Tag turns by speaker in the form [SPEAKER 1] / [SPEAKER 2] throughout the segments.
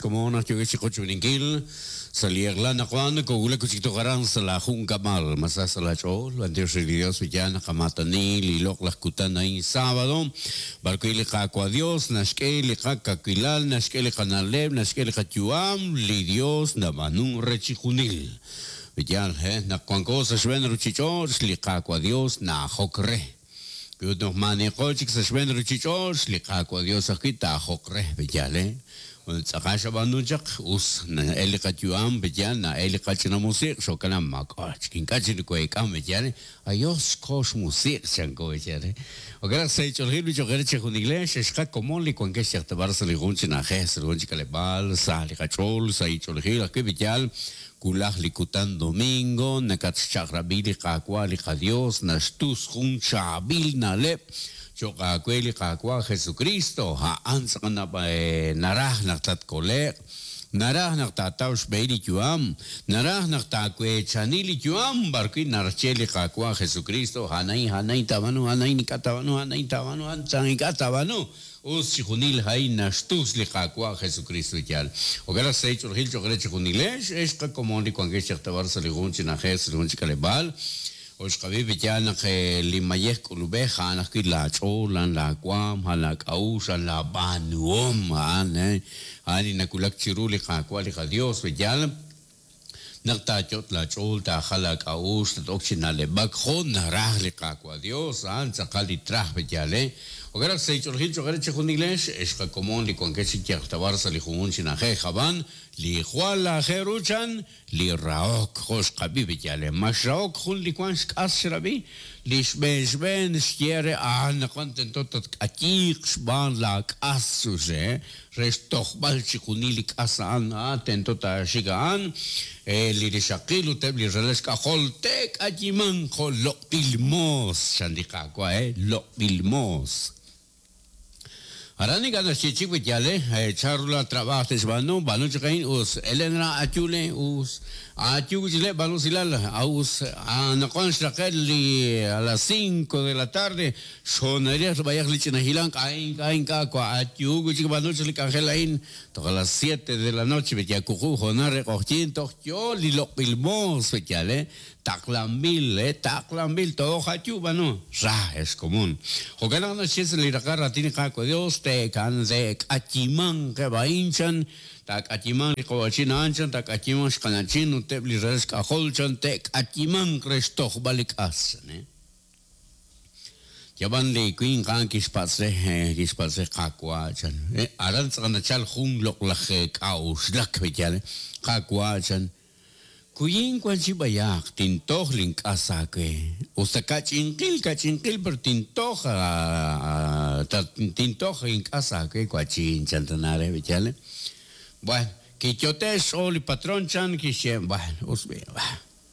[SPEAKER 1] Como naq yookeb' chiqochb'eeninkil sa' li eq'la anaqwan koowulak wi' chik toj aran sa' laajunkab'al. Ma sa sa' laach'ool? B'antiox re li Dios wi yaal naqamaatani li loq'laj kutan a'in sábado, b'ar wi' li Qaawa' Dios naxk'e li qakawilal, naxk'e li qana'leb', naxk'e li qayu'am, li Dios nab'aanunk re chijunil. Wi yaal, he, naq wanko sa' xb'een ruchich'och', li Qaawa' Dios na'ajok re. Wi ut naq maaniqo chik sa' xb'een ruchich'och', li Qaawa' Dios ajwi' taa'ajoq re. Wi yaal, he. Ut tz'aqal xab'aanu chaq, us na'el li qayu'am, wi yaal, na'el li qach'ina musiq', xo'kan naq maak'a' chik ink'a' chik nokoheek'an, wi yaal, ayos xko xmusiq', chanko, wi yaal, he. Jo'kan naq sa' eech'oolejil b'i cho'q eere chejunilex, ex qakomon li wankex yal ta b'ar sa' li jun chi na'ajej, sa' li jun chi k'aleb'aal, sa' li qach'ool, sa' eech'oolejil ajwi', wi yaal, wulaj li kutan domingo, nakatxchaq'rab'i li Qaawa' li qaDios, naxtus jun chaab'il na'leb' cho'q aawe li Qaawa' Jesukristo, a'an tz'aqal naraj naq tatkole'q, naraj naq taataw xb'ehil li yu'am, naraj naq taaweechani li yu'am b'arwi' narxye li Qaawa' Jesukristo, a'an a'in, a'an a'in taab'aanu, a'an a'in ink'a' taab'aanu, a'an a'in taab'aanu, a'an ink'a' taab'aanu. Us chijunil a'in naxtus li Qaawa' Jesukristo yaal. Jo'kan naq sahil ch'oolejil cho'q re chijunilex, ex qakomon li wankex chaq ta b'ar sa' li jun chi na'ajej, sa' li jun chi k'aleb'aal. Ut xqab'i wi yaal naq li mayej k'ulub'ej a'an ajwi' laach'ool, a'an laawaanm, a'an laak'a'uxl, a'an laab'aanuhom, a'an a'an li nawulak chiru li Qaawa' li qaYos wi yaal. Naq taayot' laach'ool, taajal aak'a'uxl, tat-ok chi na'leb'ak jo' naraj li Qaawa' Yos, a'an tz'aqal li traj pe yaal, eh. Jo'kan naq sa' eech'oolejil cho'q eere chejunilex, ex qakomon li wankex chi yal ta b'ar sa' li junjunq chi na'ajej, ab'an li jwal aajel ru chan, li rahok, jo' xqab'i pe yaal, eh. Ma xrahok jun li wank xk'as xrab'i? Li xb'een xb'een xye re, Anaqwan tento tatk'ayiiq xb'aan laak'as, chux re, Re xtojb'al chijunil li k'as a'an, tento taaxik a'an, li rixaqil ut eb' li ralal xk'ajol te'k'ayimanq jo' loq'b'il moos, chan li Qaawa', loq'b'il moos. Aran ink'a' naxye chik wi yaal, chanru laa trab'aaj te'xb'aanu, b'aanu chaq a'in, us, Elena ayu le, us, ayu wi' chik le, b'aanu usilal, us, anaqwan xraqe' li a las cinco de la tarde, Xhoonalil b'ayaq li ch'ina hilank, a'in ink'a' ink'a' wa'ayu wi' chik b'aanu chaq li k'anjel a'in toj a las siete de la noche bet ya wuqub' hoonal re q'oqyink toj yoo li loq'b'il moos bet yal taqlanb'il taqlanb'il toj ayu b'aanu ra ex komon. Jo'kan naq naxye sa' li raqal raatin li Qaawa' Dios te'kan te'k'ayimanq eb' a'in chan taak'ayimanq li qawa'chin a'an chan taak'ayimanq xqana'chin ut eb' li ralal xk'ajol chan te'k'ayimanq re xtojb'al li k'as chan. Yab'an li winq a'an kixpatz' re, kixpatz' re, Qaawa', chan. Aran tz'aqal nachal jun loq'laj k'a'uxlak, yaal, Qaawa', chan, kuyin wan chi b'ayaq, tintoj link'as aawe. Us ta ka'ch'inqil, ka'ch'inqil, pero tintoj, tintoj ink'as aawe, wa'chin, chan tana re, yaal. Bueno, kiyote' xch'ool li patron, chan, kixye, Bueno, us b'i',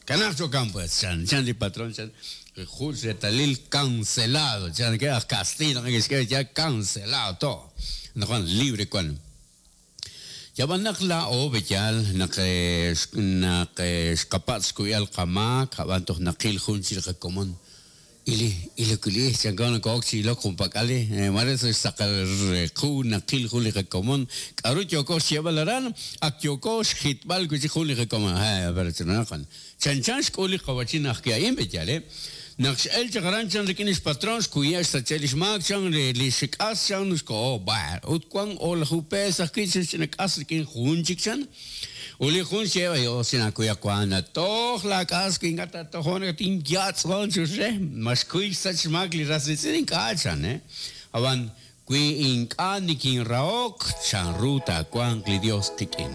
[SPEAKER 1] Kanaaq cho'kan pues, chan, chan li patron, chan, jun xreetalil cancelado, chan, ke aj kastiiy naq neke'xk'e ya cancelado to', anaqwan libre wan. Yab'an naq laa'o b'eyal naq naq xqapatz' xkuyb'al qamaak, ab'an toj naqil jun chik li qakomon Ili, ili wili, chanko noko'ok chi ilok junpak'al li, maare sa' xsaqal qu naqil jun li qakomon, k'a'ru yooko xyeeb'al aran, ak yooko xjitb'al wi' chik jun li qakomon, he, pero chananaqan, chanchan xk'ul li qawa'chin ajwi' a'in, pe'yaal, he? Naq x'el chaq aran chan rik'in lix patron, xkuye' xsache' lix maak chan, lix k'as chan, xkoho, b'ar, ut wan o'laju pees ajwi' chan xch'ina k'as rik'in jun chik chan. Ut li jun xye, Dios chinaakuy wank natoj laak'as wi ink'a' taatojon tinyatz'on chux re, ma xkuy xsach xmaak li ras riitz'in? Ink'a' chan, ab'an wi ink'a' nikinrahok, chanru taawanq li Dios qik'in?